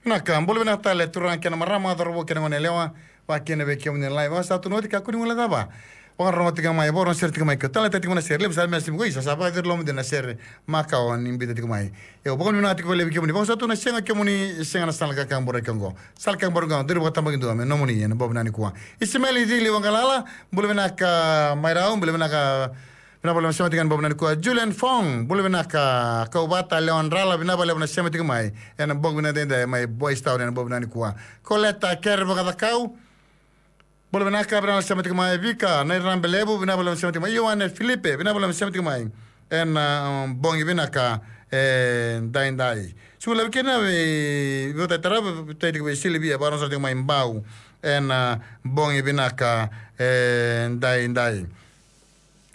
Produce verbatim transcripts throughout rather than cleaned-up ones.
Vinaka, bula vinaka tale turaga kei na marama, cauravou kei na goneyalewa, vakakina vei kemuni na live. Au sa tukuna oti, kakua ni guilecava. Vakarorogo tiko mai, vakarorogo sere tiko mai, ke o taleitaka tiko mai na sere, levu sara na message mai, ko isa sa vakaciri lomamuni na sere makawa ni biuta tiko mai. Io, vakavinavinaka tiko vakalevu vei kemuni. Vakasauri tu na sega kemuni, sega na sala kakaburaki oqo. Sala kakaburaki oqo, duri vakatabakidua me nomuni ena bogi vinaka nikua. Isimeli Cili Wagalala, bula vinaka mai Rau, bula vinaka. Vinaka vakalevu na sema tiko ena bogi vinaka nikua. Julian Fong, bula vinaka. Kauvata Lewa Drala, vinaka vakalevu na sema tiko mai ena bogi vinaka edaidai mai Boys Town ena bogi vinaka nikua. Koleta Kere Vakacakau, bula vinaka, vinaka vakalevu na sema tiko mai. Vika Nairabelevu, vinaka vakalevu na sema tiko mai. Ioane Filipe, vinaka vakalevu na sema tiko mai ena, um, bogi vinaka edaidai. Sega ni levu kina vei, vei Vata Tarava, vei Silivia, vakarorogo sara tiko mai Bau ena, um, bogi vinaka edaidai.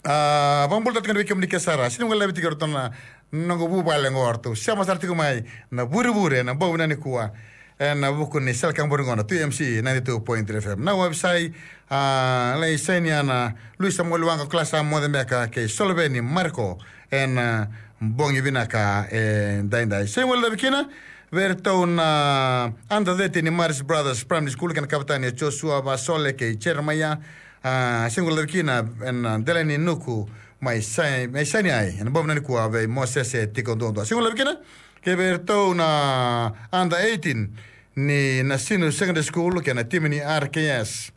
A, vakabula tale tiko vei kemuni ke sara. Sega ni guilecavi tiko o ratou na noqu vuvale oqo, o ratou sema sara tiko mai na vurevure ena bogi vinaka nikua. Ena vuku ni sala kakaburaki oqo na two M C ninety-two point three F M. Na wavisai, a, lai saini ana Luisa Moliwaqa, Klasa Mocebeka kei Soloveni Mariko ena, a, bogi vinaka edaidai. Sega ni guilecavi kina vei iratou na under thirteen ni Maris Brothers Primary School kei na kavetani o Joshua Vasole kei Jeremaia. A, sega ni guilecavi kina ena, a, Deleni Nuku mai Sai, mai Saineai ena bogi vinaka nikua vei Mosese Tikoduadua. Sega ni guilecavi kina kei vei iratou na under eighteen ni Nasinu Secondary School kei na timi ni R K S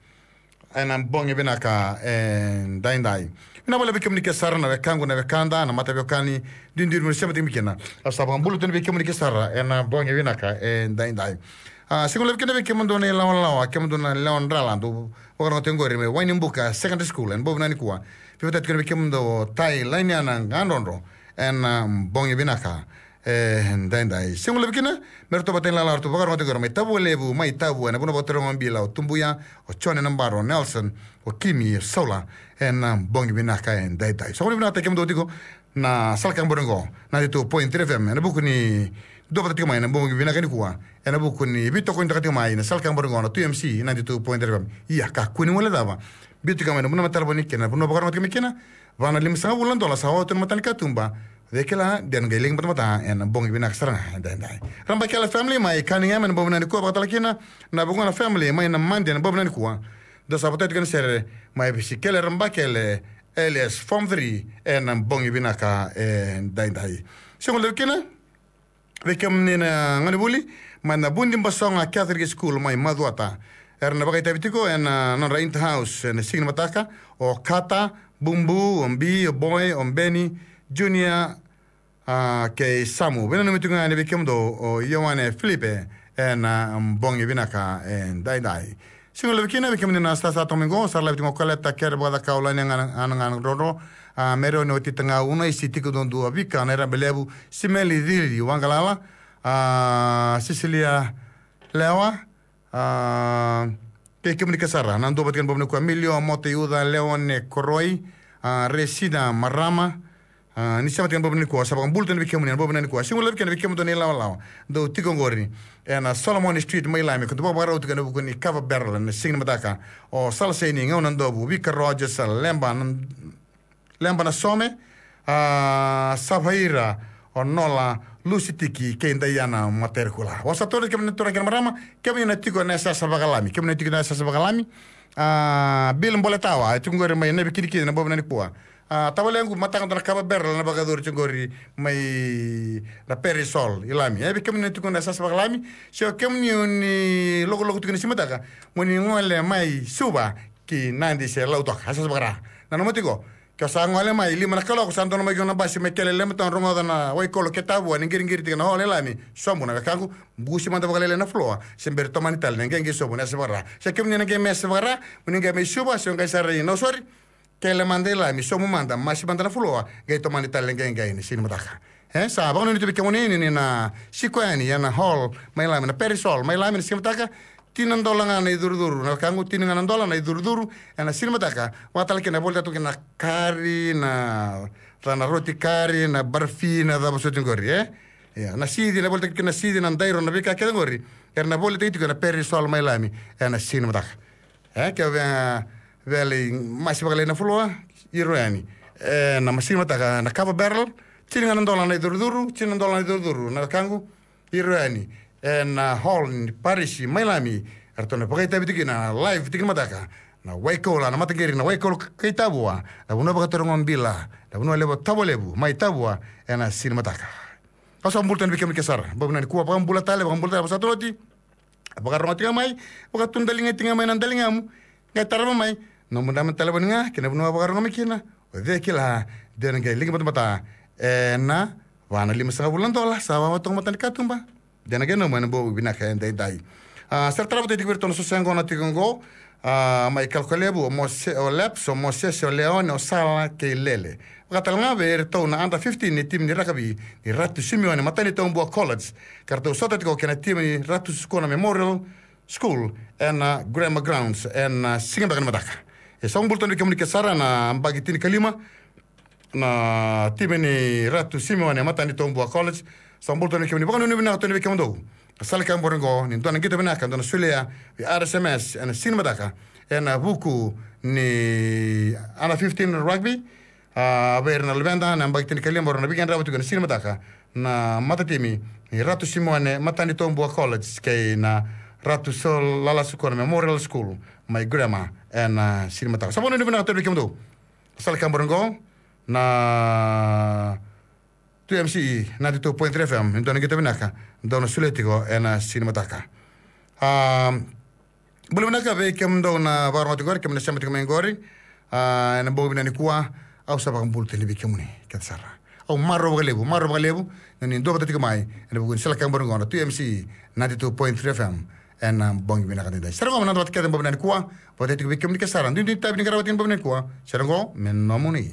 ena bogi vinaka edaidai. Vinaka vakalevu vei kemuni ke sara na wekaqu, na wekada, na mataveiwekani, duidui mo ni sema tiko mai kina. Au sa vakabula tu vei kemuni ke sara ena bogi vinaka edaidai. A, sega ni levu kina vei kemudou na ilawalawa, kemudou na Lewa Drala, dou vakarorogo tiko oqori mai Wainibuka Secondary School ena bogi vinaka nikua. Veivatai tiko vei kemudou o Tai Lainiana Gadrodro ena, a, bogi vinaka edaidai. Sega ni levu kina me ratou vata ni lala, ratou vakarorogo tiko mai Tavua Levu, mai Tavua, ena vanua vakaturaga o Bila, o Tubuya, o Jone Nabaro, o Nelson, o Kimi, o Saula, ena, a, bogi vinaka edaidai. Sa vakavinavinakataki kemudou tiko na sala kakaburaki oqo, ninety-two point three F M, ena vuku ni dua vata tiko mai na bogi vinaka nikua, ena vuku ni veitokonitaka tiko mai na sala kakaburaki oqo na two M C ninety-two point three F M. Ia, kakua ni guilecava, biu tiko mai na vanua me talevoni kina, na vanua vakarorogo tiko mai kina, va na limasagavulu na dola sa oti na matanikatuba. Cei kila, de na qai legi batabata ena bogi vinaka sara ga edaidai. Rabakele family mai Cunningham ena bogi vinaka nikua, vakatale kina na Vugona family mai Namadi ena bogi vinaka nikua. Dou sa votai tiko ena sere mai Visikele Rabakele, Elias Form three, ena bogi vinaka edaidai. Sega ni levu kina vei kemuni na gonevuli mai na Vudibasoga Catholic School mai Macuata. Era na vakaitavi tiko ena nodra inter-house ena siga ni mataka o Kata, Bubu, o Bi, o Boy, o Beni, Junior, a, kei Samu. Veinanumi tiko ga yani vei kemudou o Ioane Filipe ena, a, bogi vinaka edaidai. Sega ni levu kina vei kemuni na sasa toka mai qo, sa ra live tiko qo, Koleta Kere Vakacakau, Lainiana Gadrodro, a, Merioni Oti Tagau, Unaisi Tikoduadua, Vika Nairabelevu, Simeli Cili Wagalala, a, Sisilia Lewa, a, kei kemuni ke sara na dua vata kei na bogi vinaka nikua, Milio Motaiuca, Leone Koroi, a, Resina Marama, a, ni sema tiko ena bogi vinaka nikua, sa vakabula tiko vei kemuni ena bogi vinaka nikua. Sega ni levu kina vei kemudou na ilawalawa dou tiko oqori ena Solomon Street mai Lami, ko dou vakavakarau tiko ena vuku ni Kava Barrel ena siga ni mataka. O Sala Saini, Gau Nadovu, Vika Rogers, Leba na Leba Nasome, a, Savaira, o Nola, Lusi Tiki kei Daiana Materikula. Vosa tolu kemuni na turaga kei na marama, kemuni na tiko ena yasayasa vakalami, kemuni na tiko ena yasayasa vakalami. A, Bill Boletawa, e tiko qori mai Naivikinikini ena bogi vinaka nikua. A, tavalequ, mataka dua na Kava Barrel na vakayacori tiko qori mai na Perisol i Lami. E, vei kemuni na tiko ena yasayasa vakalami, se o kemuni o ni lokoloko tiko ena siga ni mataka, mo ni gole mai Suva ki Nadi se Lautoka, yasayasa vakaRa. Nanuma tiko, ke o sa gole mai lima na kaloko, sa donu mai kina na basi mai Kele, Lemmington, rogoca na Waikolo ke Tavua, ni qiriqiri tiko na hall e Lami, sobu na wekaqu, busi mada vakalailai na floor, se bera ni tomani tale na qeqe sobu ena yasayasa vakaRa. Se kemuni na qai mai yasayasa vakaRa, mo ni qai mai Suva, se o qai sara i Nausori, Kele mada i Lami, sobu mada, masi mada na floor, qai tomani tale na qeqe ena siga ni mataka. E, sa vakanuinui tu vei kemuni ni, ni na siko yani ena hall mai Lami, na Perisol mai Lami, ena siga ni mataka, tini na dola ga na icurucuru, na wekaqu, tini ga na dola na icurucuru ena siga ni mataka. Vakatale kina na volitaka tu kina na kari, na, na roti kari, na barafi, na cava soti qori, e? Ia, na sici, na volitaki kina na sici, na dairo, na veika kece qori, era na volitaki tiko ena Perisol mai Lami ena siga ni mataka. E, ke o via, via lai masi vakalailai na floor, iro yani. E, na masi mataka, na Kava Barrel, tini ga na dola na icurucuru, tini na dola na icurucuru, na wekaqu, iro yani. ena hall ni parisi mai Lami, eratou na vakaitavi tiko kina na live tiko ni mataka na Waikolo, na mataqiri na Waikolo kei Tavua, na vanua vakatarogo bila, na vanua levu Tavua Levu mai Tavua ena siga ni mataka. Au sa bula tani vei kemuni ke sara, bau vinaka nikua, vakabula tale, vakabula tale, vakasatoroti. Vakarogo tiko mai, vakatudaliga tiko mai na daligamu. Qai tarava mai na nomu naba ni talevoni ga kei na vanua vakarogo mai kina. O cei kila, de na qai liki batabata ena va na lima sagavulu na dola, sa vava toka mata ni katuba. De na qai nomu ena bau vinaka edaidai. A, sa ra tarava tiko vei iratou na sosa yaqona tiko qo. A, mai Kalokalevu, o Mose, o Leps, o Mosese, o Leone, o Sala kei Lele. Vakatale ga vei iratou na under fifteen ni timi ni rakavi ni Ratu Simeone Matanitobua College, ka ratou sota tiko kei na timi ni Ratu Sukuna Memorial School ena Grammar Grounds ena siga beka ni mataka. E sa bula tani vei kemuni ke sara na baki tinikalima na timi ni Ratu Simeone Matanitobua College. Sa bula tani vei kemuni, vakanuinui vinaka tani vei kemudou. Na sala ka bore qo ni dua na qito vinaka, dua na solia vei R S M S ena siga ni mataka ena vuku ni under fifteen rugby. A, vei ira na luveda na yabaki tinikalima, rau na veiqaravi tiko ena siga ni mataka na matatimi ni Ratu Simeone Matanitobua College kei na Ratu Sir Lala Sukuna Memorial School mai Grammar ena siga ni mataka. Sa vakanuinui vinaka tani vei kemudou. Sala ka bore qo na two M C E ninety-two point three F M, ni dua na qito vinaka dou na solia tiko ena siga ni mataka. A, bula vinaka vei kemudou na vakarogo tiko qori, kemuni na sema tiko mai qori. A, ena bogi vinaka nikua, au sa vakabula tani vei kemuni kece sara. Au marau vakalevu, marau vakalevu na nomuni dua vata tiko mai ena vuku ni sala ka bore qo na two M C E ninety-two point three F M ena bogi vinaka edaidai. Sara qo, na noda vata kece bogi vinaka nikua, vata tiko vei kemuni ke sara, duidui tavi ni qarava tiko bogi vinaka nikua. Sara qo me nomuni.